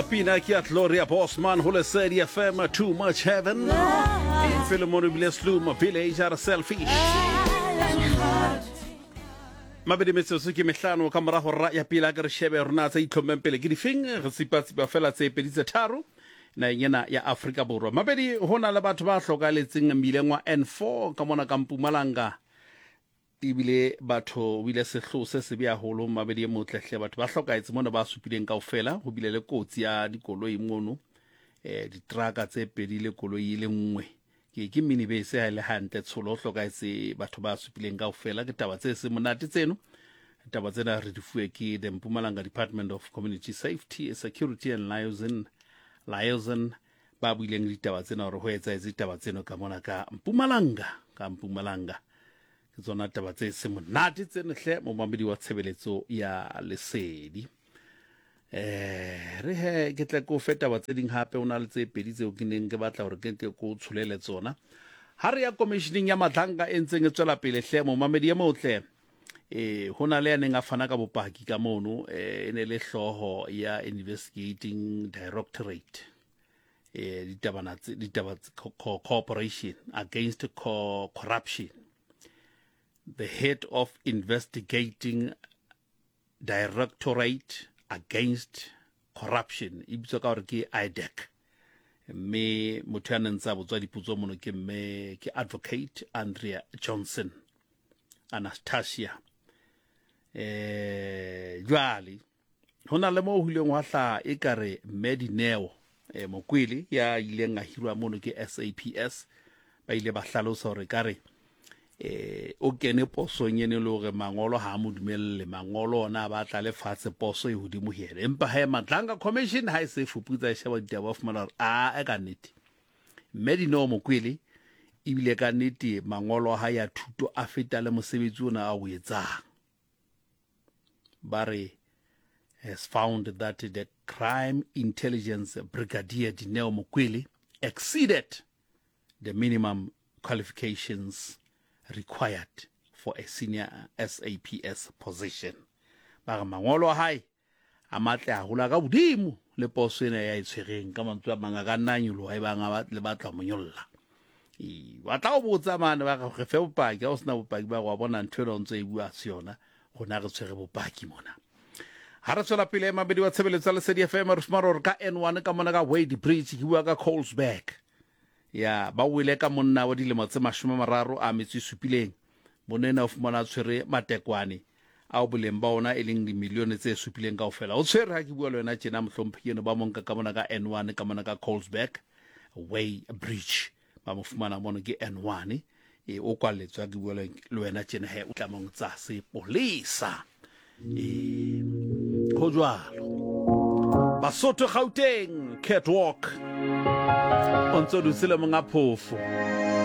Pina ke ya Gloria Bosman ho Lesedi FM, Too Much Heaven. Pele mono bile Sluma Village a re Selfish. Mabedi metsotso ke mehlano ka morago ra ya pele a ke re shebe rona tse itlhommeng pele ke difeng re tsipa-tsipa fela tse pedi tse tharo naheng ena ya Afrika Borwa. Mabedi ho na le batho ba hlokahaletseng mmileng wa N4 ka mona ka Mpumalanga. Ebile batho o ile sehloho se sebe haholo mabedi e motle hle batho ba hlokahetse mona ba supileng kaofela ho bile le kotsi ya dikoloi mono eh ditraka tse pedi le koloi e le nngwe ke ke minibese ha e le hantle tsholo ho hlokahetse batho ba supileng kaofela ke taba tse seng monate tseno taba tsena re di fuwe ke the Mpumalanga Department of Community Safety Security and Liaison Liaison ba buileng ditaba tsena hore ho etsahetse ditaba tseno ka mona ka Mpumalanga ka Mpumalanga ke tsona taba tse se monate tseno hle momamedi wa tshebeletso ya lesedi eh re he ke tle ko fe taba tse ding hape o na le tse pedi tseo ke neng ke batla hore ke ke ko tsholele tsona ha re ya commissioning ya Madlanga e ntseng e tswela pele hle momamedi e motle e ho na le ya neng a fana ka bopaki ka mono e ne le hlooho ya investigating directorate e ditabana ditaba cooperation against co corruption the head of investigating directorate against corruption e bitswa ka gore ke IDAC mme motho ya neng tsa botswa dipotso mono ke mme ke advocate Andrea Johnson Anastasia eh jwale ho na le mo ho ileng hwa hlaha e ka re mme Dineo eh, Mokwele ya ileng a hirwa mono ke SAPS ba ile ba hlalosa hore ka re eh o kene posong ene le hore mangolo ha a mo dumelle mangolo ona a batla le fatshe poso e hodimo ho yena empa he Madlanga Commission ha e se fuputsa e sheba ditaba ba fumana hore a e ka nnete mme Dineo Mokwele ebile ka nnete mangolo a hae a thuto a feta le mosebetsi ona a o etsang ba re has found that the crime intelligence brigadier Dineo Mokwele exceeded the minimum qualifications required for a senior SAPS position. Ba re mangolo a hae a matle haholo a ka hodimo le poso ena ya e tshwereng ka mantswe a mang a ka nna a nyoloha e bang a le batla mo nyolla. Ee, ba tla o botsa mane ba re fe bopaki ha o sena bopaki ba re wa bona ntho ena o ntse e bua se yona rona re tshwere bopaki mona. Ha re tswela pele mabedi wa tshebeletso ya Lesedi FM re fumana hore ka N1 ka mona ka Wade Bridge ke bua ka Colesberg ya ba wele ka monna wa dilemo tse 30 a metso e supileng monna ena o fumana a tshwere matekwane ao boleng ba ona e leng dimilione tse supileng kaofela o tshwere ha ke bua le wena tjena mohlomphehi eno ba monka ka mona ka N1 ka mona ka Colesberg Way Bridge ba mo fumana mono ke N1 e o kwalletswe ha ke bua le wena tjena he o tlamong tsa sepolesa e ho jwalo Basotho Gauteng catwalk o ntse o dutse le monga phofo.